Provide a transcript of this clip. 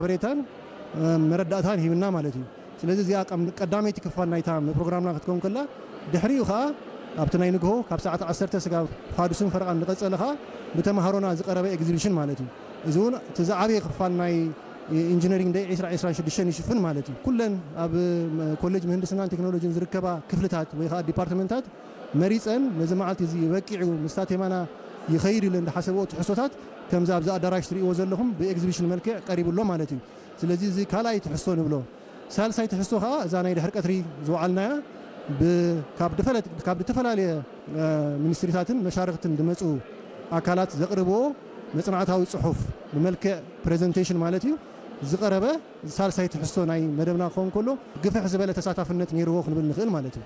ሓበሬታን መረዳእታን ሂብና ማለት እዩ። ስለዚ እዚኣ ቀዳመይቲ ክፋል ናይታ ፕሮግራምና ክትከውን ከላ፣ ድሕሪኡ ከዓ ኣብቲ ናይ ንግሆ ካብ ሰዓት ዓሰርተ ስጋብ ፋዱስን ፈረቓን ዝቐጸለ ከዓ ብተምሃሮና ዝቐረበ ኤግዚቢሽን ማለት እዩ። እዚ እውን እቲ ዝዓበየ ክፋል ናይ ኢንጂነሪንግ ደይ ዕስራ ዕስራን ሽዱሽተን ይሽፍን ማለት እዩ። ኩለን ኣብ ኮሌጅ ምህንድስናን ቴክኖሎጂን ዝርከባ ክፍልታት ወይ ከዓ ዲፓርትመንታት መሪፀን ነዚ መዓልቲ እዚ በቂዑ ምስታ ቴማና ይኸይድ ኢለን ዝሓሰብኦ ትሕዝቶታት ከምዚ ኣብዚ ኣዳራሽ ትርእይዎ ዘለኹም ብኤግዚቢሽን መልክዕ ቀሪቡ ኣሎ ማለት እዩ። ስለዚ እዚ ካልኣይ ትሕዝቶ ንብሎ። ሳልሳይ ትሕዝቶ ከዓ እዛ ናይ ድሕሪ ቀትሪ ዝወዓልናያ ካብ ዝተፈላለየ ሚኒስትሪታትን መሻርክትን ዝመፁ ኣካላት ዘቕርብዎ መፅናዕታዊ ፅሑፍ ብመልክዕ ፕሬዘንቴሽን ማለት እዩ ዝቐረበ ሳልሳይ ትሕዝቶ ናይ መደብና ክኸውን ከሎ ግፍሕ ዝበለ ተሳታፍነት ነይርዎ ክንብል ንኽእል ማለት እዩ።